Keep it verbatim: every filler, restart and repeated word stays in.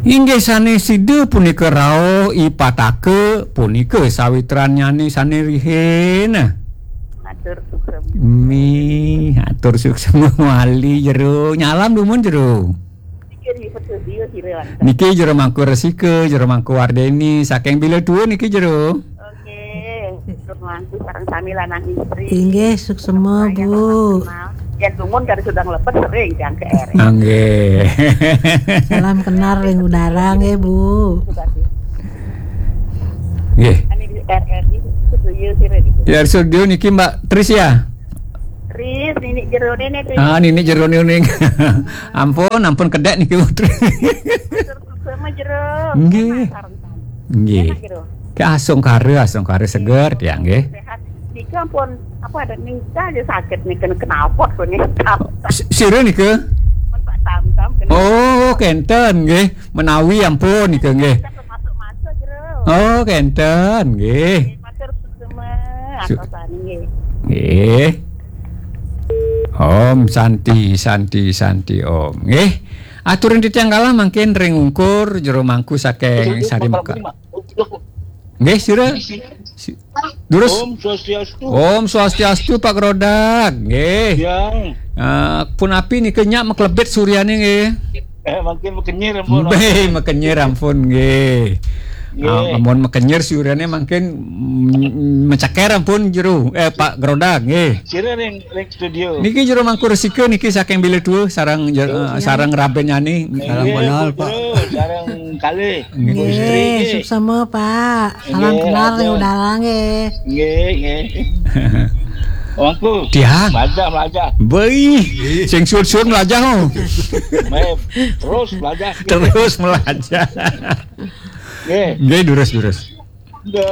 Inggih sané sida punika rauh I Pataka, punika sawitrannyané sané rihin. Matur suksma. Mi, atur suksma wali jero. Nyalam dumun jero. Niki di studio sira langkung. Niki jero Mangku Resika, jero Mangku Wardeni, saking Bila Tua niki jero. Oke, terus langkung sareng sami lanang istri. Inggih, suksma, Bu. Yang dumun kali sudah lepas sering yang ke R. Nggih. Salam kenal ring udara nggih, Bu. Sudah sih. Nggih. Ani di R R I studio sira di. Ya, studio niki Mbak Tris ya? Tris, nini jero nene Tris. Ah, nini jero nene. Ampun, ampun kedek niki, Bu Tris. Matur suksma jero. Nggih. Enak sareng sami. Nggih. Enak jero. Ke asung kara, asung kara seger tiang nggih. Sehat. Nika ampun apa ada nika aja sakit nih kena kenalpot kok nih. Si-, sira nika? Pun Pak Tam Tam kena. Oh, kenten nggih. Menawi ampun nika nggih. Kita masuk-masuk jero. Oh, kenten nggih. Matur suksma. Su- Atas nggih. Nggih. Om Santi, Santi, Santi Om. Nggih. Aturin titiang kalah mangkin ring ungkur jero Mangku saking Sari Mekar. Nggih, sira. Si-, durus. Om Swastiastu. Om Swastiastu, Pak Grodak. Nggih. Ya. Eh, punapi nika nyak maklebet suryane nggih. Eh, mangkin makenyir ampun. Nggih, makenyir ampun nggih. Nggih. Ah, amun makenyir suryane mangkin, mm, menceker ampun jero. Eh, Pak Grodak nggih. Sira ring, ring studio. Niki jero Mangku Resika niki saking Bila Tua sareng jer-, eh, sareng rabennyane. Salam kenal, Pak. Sareng kalih. Nggih. Nggih, suksma, Pak. Salam kenal ring udara nggih. Nggih, nggih. Mangku. Tiang. Melajah, melajah. Beuh, sing suud-suud melajah, oh. Meh, terus melajah. Terus melajah. Nggih. Nggih, durus, durus. Nggih.